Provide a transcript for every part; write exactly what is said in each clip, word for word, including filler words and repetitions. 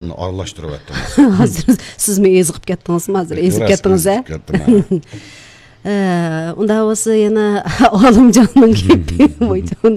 ئارىلاشتۇرۇۋەتتىڭىز. ھازىر سىزمۇ ئېزىقىپ كەتتىڭىزمۇ؟ ھازىر ئېزىپ كەتتىڭىز، ھە؟ ئېزىپ كەتتىم، ھە. ئە، ئۇنداق بولسا يەنە ئالىمجاننىڭ گېپى، ۋايجان.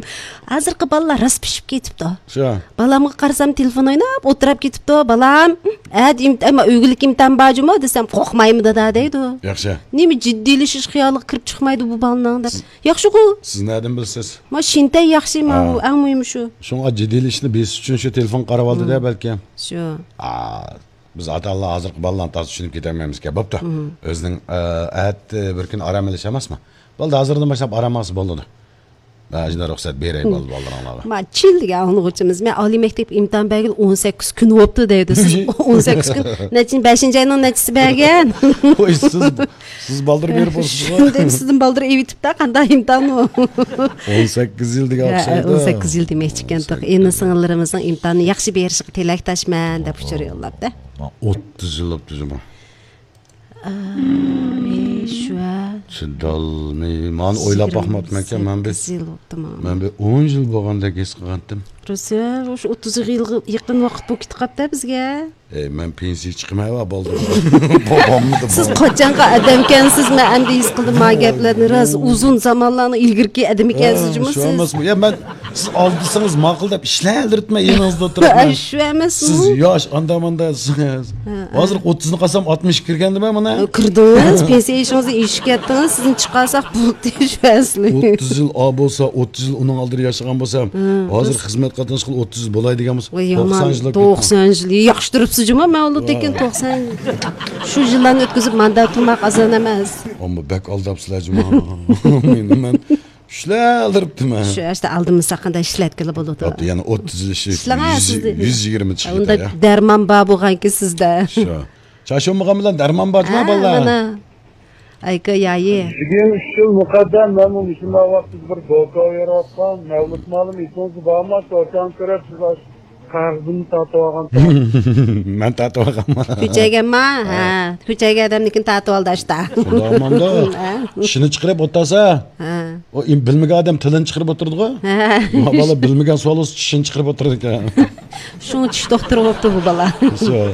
ھازىرقى بالىلار راست پىشىپ كېتىپتۇ. شۇ. بالامغا قارىسام، تېلېفون ئويناپ ئولتۇرۇپ كېتىپتۇ. «بالام، ئەتە ئىمت-، ئەمما ئۆگۈنلۈك ئىمتىھان بارجۇمۇ؟» دېسەم، «قورقمايمۇ، دادا» دەيدۇ. ياخشى. نېمە جىددىيلىشىش خىيالىغا كىرىپ چىقمايدۇ بۇ بالىنىڭ دەپ. ياخشىغۇ. سىز نەدىن بىلىسىز؟ ما شىنتەي ياخشى، ما ھا. ئۇ ئەڭ مۇھىمى شۇ. شۇڭا جىددىيلىشىشنى بېسىش ئۈچۈن شۇ تېلېفون قاراۋالدى-دە، مم. بەلكىم. شۇ. ئا، بىز ئاتا-ئانىلار ھازىرقى بالىلارنى تازا چۈشىنىپ كېتەلمەيمىزكەن. بوپتۇ. مم. ئۆزىنىڭ، ئە، ئەتە بىر كۈن ئارام ئېلىش ئەمەسمۇ؟ بولدى، ھازىردىن باشلاپ ئارام ئالسا بولىدۇ. ھە، شۇنداق رۇخسەت بېرەي بال-، بالىلىرىڭلارغا. ما، چىن دېگەن ئاڭلىغۇچىمىز، مەن ئالىي مەكتەپكە ئىمتىھان بەرگىلى ئون سەككىز كۈن بوپتۇ دەيدۇ. سىز ئون سەككىز كۈن، نەچچىنچى، بەشىنچى ئاينىڭ نەچچىسى بەرگەن؟ ۋوي، سىز، سىز بالدۇر بېرىپ بولسىز. شۇنداق سىزدىن بالدۇر ئېۋىتىپتا، قانداق ئىمتىھان ئۇ؟ ئون سەككىز يىل دېگەن ھە، ئوخشايدۇ. ئون سەككىز يىل دېمەكچىكەن، ئون سەككىز. ئىنى-سىڭىللىرىمىزنىڭ ئىمتىھانى ياخشى بېرىشىغا تىلەكداشمەن دەپ ئۇچۇر يوللاپتۇ. ما، ئوتتۇز يىل بوپتۇ جۇمۇ. ئاي، شۇ. چىدالماي، مانا ئويلاپ باقماپتىمەنكەن، مەن بىر، يىگىرمە سەككىز يىل بوپتۇ مانا. مەن بىر ئون يىل بولغاندەك ھېس قىلغانتىم. روسىيە، شۇ ئوتتۇز يىلغا يېقىن ۋاقىت بولۇپ كېتىپ قاپتۇ بىزگە. ئەي، مەن پېنسىيە چىقىمەن ۋە بولدى. بولمىدى. سىز قاچانقى ئادەمكەنسىز، مەن ئەمدى ھېس قىلدىم ما گەپلەرنى. راست، ئۇزۇن زامانلارنىڭ ئىلگىرىكى ئادىمىكەنسىز جۇمۇ سىز. شۇ ئەمەسمۇ؟ يا، مەن سىز ئالدىسىڭىز ماقۇل دەپ ئىشلەۋېرىپتىمەن يېنىڭىزدا ئولتۇرۇپ. شۇ ئەمەسمۇ؟ سىز ياش، ئاندا-ماندا. ھە، ھە. ھازىر ئوتتۇزنى قالسام، ئاتمىشقا كىرگەندىمەن مانا. كىردىڭىز، پېنسىيە يېشىڭىزدا ئېشىپ كەتتىڭىز، سىزنى چىقارساق بولدى، شۇ ئەسلى. ئوتتۇز يىل ئا بولسا، ئوتتۇز يىل ئۇنىڭ ئالدىدا ياشىغان بولسام، ھە، ھازىر خىزمەت قاتناشقىلى ئوتتۇز يىل بولاي دېگەن بولسا، ۋاي، يامان، توقسان يىل. توقسان يىل، ياخشى تۇرۇپسىز جۇمۇ، مەن ئۇلۇدىكىن توقسان، شۇ يىللارنى ئۆتكۈزۈپ، ماندا تۇرماق ئاسان ئەمەس. ئەمما بەك ئالداپسىلەر جۇمۇ. مېنى، مەن ئىشلەۋېرىپتىمەن. شۇ ئاشتا ئالدىمىزدا قانداق ئىشلەتكىلى بولىدۇ. ئاپا، يەنە ئوتتۇز يىل ئىشلەپ، ئىشلەڭە يۈز، سىز. يۈز يىگىرمە چىقىدۇ ئۇندا يا. دەرمان بار بولغانكى سىزدە. شۇ. چاچ بولمىغان بىلەن دەرمان بار جۇمۇ، ھە، بالىلار. مانا. ئايكا يايى. بۈگۈن ئۈچ يىل مۇقەددەم مەنمۇ مۇشۇنداق ۋاقىتتا بىر دوكا ئۆرۈۋاتقان. مەۋلۇت مالىم ئېسىڭىزدە بارمۇ؟ شۇ ئاكام كۆرۈپ، سىز ئاشۇ قەغىزىمنى تارتىۋالغان. مەن تارتىۋالغانمەن. كۆچەيگەنما؟ ھە. ھە. كۆچەيگەن ئادەمنىڭكىنى تارتىۋالدى ئاشتا. شۇنداق ئاماندا. ھە. چىشىنى چىقىرىپ ئولتۇرسا، ھە. ئۇ ئىم-، بىلمىگەن ئادەم تىلىنى چىقىرىپ ئولتۇرىدىغۇ. ھە. ما بالا بىلمىگەن سوئال بولسا چىشىنى چىقىرىپ ئولتۇرىدىكەن. شۇڭا چىش دوختۇرى بوپتۇ بۇ بالا. شۇ.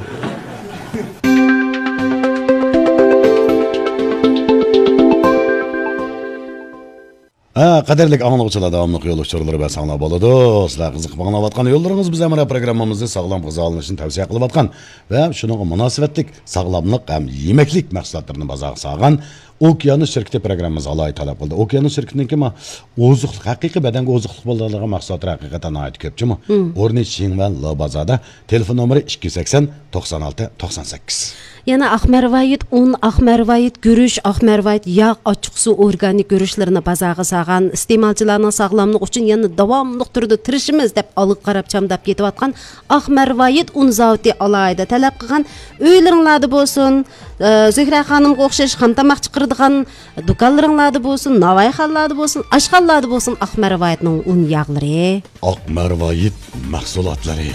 ھە، قەدىرلىك ئاڭلىغۇچىلار، داۋاملىق يول ئۇچۇرلىرى بەرسەڭلار بولىدۇ. سىلەر قىزىقىپ ئاڭلاۋاتقان يوللىرىڭىز بىز ھەمراھ پروگراممىمىزدا ساغلام غىزالىنىشنى تەۋسىيە قىلىۋاتقان ۋە شۇنىڭغا مۇناسىۋەتلىك ساغلاملىق ھەم يېمەكلىك مەھسۇلاتلىرىنى بازارغا سالغان ئوكيانۇس شىركىتى پروگراممىمىزغا ئالاھىدە تەلەپ قىلدى. ئوكيانۇس شىركىتىنىڭكى ما ئوزۇقلۇق، ھەقىقىي بەدەنگە ئوزۇقلۇق بولىدىغان مەھسۇلاتلار ھەقىقەتەن ناھايىتى كۆپ جۇمۇ. مم. ئورنى شىڭۋەن لا بازاردا، تېلېفون نومۇرى ئىككى يۈز سەكسەن، توقسان ئالتە، توقسان سەككىز. يەنە ئاق مەرۋايىت ئۇن، ئاق مەرۋايىت گۈرۈچ، ئاق مەرۋايىت ياغ، ئاچچىقسۇ ئورگانىك گۈرۈچلىرىنى بازارغا سالغان. ئىستېمالچىلارنىڭ ساغلاملىقى ئۈچۈن يەنە داۋاملىق تۈردە تىرىشىمىز دەپ ئالغا قاراپ چامداپ كېتىۋاتقان ئاق مەرۋايىت ئۇن زاۋۇتى ئالاھىدە تەلەپ قىلغان. ئۆيلىرىڭلاردا بولسۇن، ئە، زۆھرە خانىمغا ئوخشاش خام تاماق چىقىرىدىغان دۇكانلىرىڭلاردا بولسۇن، ناۋايخانىلاردا بولسۇن، ئاشخانىلاردا بولسۇن، ئاق مەرۋايىتنىڭ ئۇن ياغلىرى. ئاق مەرۋايىت مەھسۇلاتلىرى.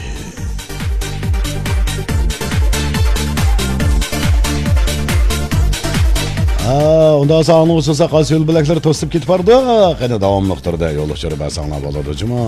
ھە، ئۇنداق بولسا ئاڭلىغۇچىلار قايسى يول بۆلەكلىرى توسۇپ كېتىپ بارىدۇ؟ قېنى داۋاملىق تۈردە يول ئۇچۇرى بەرسەڭلار بولىدۇ جۇمۇ.